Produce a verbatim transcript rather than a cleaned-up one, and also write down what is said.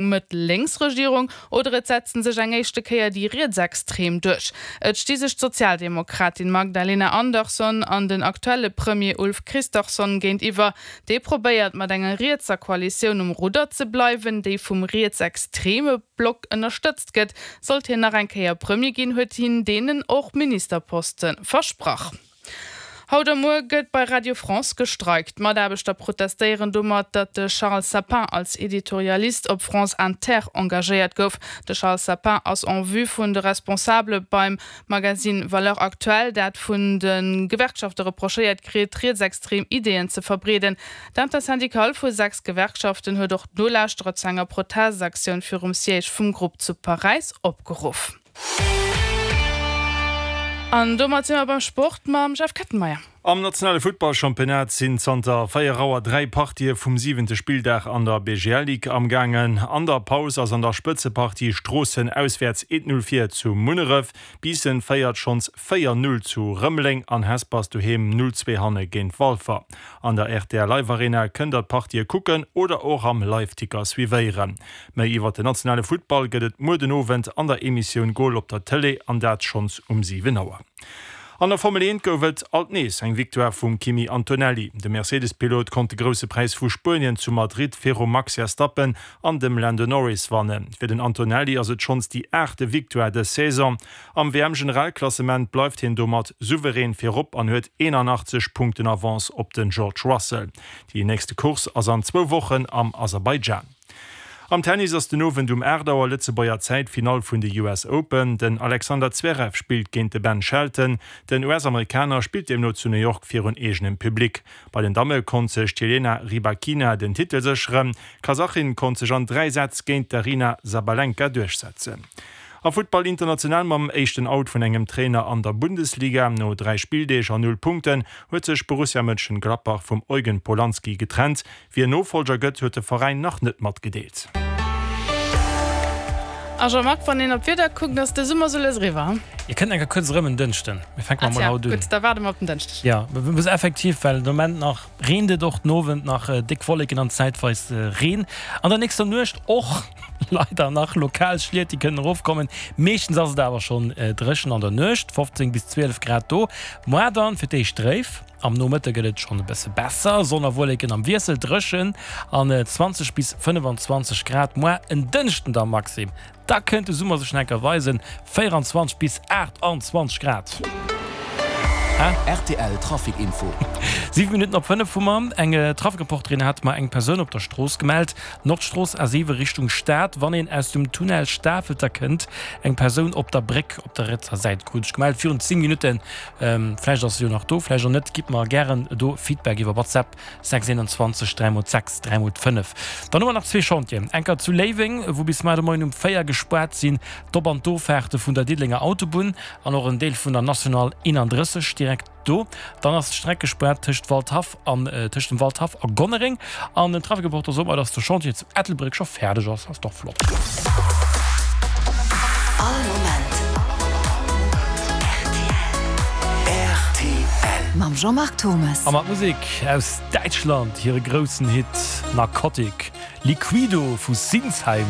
Mëtt-Lénks-Regierung oder et setzen sech eng éischte Kéier déi Rietsextrem duerch. Et sti sech d'Sozialdemokratin Magdalena Andersson an den aktuelle Premier Ulf Kristersson géintiwwer. Dee probéiert mat enger rietser Koalitioun um Rudder ze bleiwen, déi vum rietsextreme Block ënnerstëtzt gëtt. Sollt hien nach eng Kéier Premier ginn, huet hien deenen och Ministerposte versprach. Haut a muer gëtt bei Radio France gestreikt. D'Mataarbechter protestéieren domat, datt de Charles Sapin als Editorialist op France Inter engagéiert gouf. De Charles Sapin ass en vue vun de Responsabele beim Magasinn Valeurs Actuelles, dat vun de Gewerkschafte reprochéiert kritt, rietsextrem Ideeën ze verbreeden. D'Intersyndicale vu sechs Gewerkschaften huet och d'Nolauschterer zu enger Protestaktioun virum Siège vum Grupp zu Paräis opgeruff. An domat si mer beim Sport mam Jeff Kettenmeyer. Am nationale Futtballchampionnat sinn zanter véier Auer dräi Partië vum siwente Spilldag an der B G L Ligue amgaangen. An der Paus ass an der Spëtzepartie Stroossen auswäerts eent Null vir zu Munneref. Biissen féiert schonns véier Null zu Rëmeleng an Hesper ass doheem Null zwee hanne géint Walfer. An der R T L Live Arena kënnt der d'Partië kucken oder och am Liveticker suivéieren. Méi iwwer den nationale Futtball gëtt et muer den Owend an der Emissioun Goal op der Tëlee an dat schonns um siwen Auer. An der Formel eent gouf et alt nees eng Victoire vum Kimi Antonelli. De Mercedes-Pilot konnt de Grousse Präis vu Spuenien zu Madrid virum Max Verstappen an dem Lando Norris wannen. Fir den Antonelli ass et schonns déi aachte Victoire dës Saison. Am W M-Generalklassement bleift hien domat souverän virop an huet eenanachtzeg Punkten Avance op den George Russell. Déi nächste Course ass an zwou Wochen am Aserbaidschan. Am Tennis ass den Owend um aacht Auer Lëtzebuerger Zäit d'Finall vun de U S Open. Den Alexander Zverev spillt géint de Ben Shelton. Den U S-Amerikaner spillt deemno zu New York virun eegenem Public. Bei den Damme konnt sech d'Jelena Rybakina den Titel sécheren. D'Kasachin konnt sech an dräi Sätz géint d'Aryna Sabalenka duerchsetzen. A Futtball international mam éischten Out vun engem Trainer an der Bundesliga. No dräi Spilldeeg an null Punkten huet sech Borussia Mönchengladbach vum Eugen Polanski getrennt. Wie Nofolger gëtt, huet de Veräin nach net matgedeelt. A Jean-Marc, wann een op d'Wieder kuckt, ass de Summer sou lues eriwwer, hm? Ihr kënnt enker kuerz erëm en Dënschden. Mir fänke Ah mol tja, haut un. gutt, da waarde mer op den Dënschdeg. Ja, muss effektiv, well de Moment nach reent et och den Owend nach déck Wolleken an zäitweis Reen. An der nächster Nuecht och leider nach lokal Schliet, déi kënnen erofkommen. Meeschtens ass et awer schonn dréchen an der Nuecht, fofzéng bis zwielef Grad do. Moar dann fir d'éischt dréif. Am Nomëtte gëtt et schonn e bësse besser, Sonn a Wolleken am Wiessel, dréchen an zwanzeg bis fënnefenzwanzeg Grad. Moar en Dënschden da Maxim, da kënnt de Summer sech nach enker weisen, véieranzwanzeg bis aachtanzwanzeg Grad. R T L Trafic Info. Siwe Minutten op fënnef hu mer. Eng Trafic-Reporterin hat mer eng Persoun op der Strooss gemellt. Nordstrooss A siwe Richtung Stad, wann een aus dem Tunnel Stafelter kënnt. Eng Persoun op der Bréck op der rietser Säit krut ech gemellt virun zéng Minutten. Vläicht ass se jo nach do, vläicht och net. Gitt mer gären do Feedback iwwer WhatsApp sechs eenanzwanzeg dräi mol sechs dräi mol fënnef. Dann hu mer nach zwee Chantieren. Enker zu Léiweng, wou bis mar de Moien um véier gespaart sinn d'Op an d'Offaarte vun der Diddelenger Autobunn an och en Deel vun der National eenanddrësseg direkt do. Dann ass d'Streck gespaart tëscht Waldhaff an tëscht dem Waldhaff a Gonnereng. An den Trafic-Reporter sot mer, dass de Chantier zu Ettelbréck scho fäerdeg ass. Ass dach flott. All Moment R T L. Mam Jean-Marc Thomes. A mat Musek aus Däitschland, hire groussen Hit Narcotic Liquido vu Sinsheim.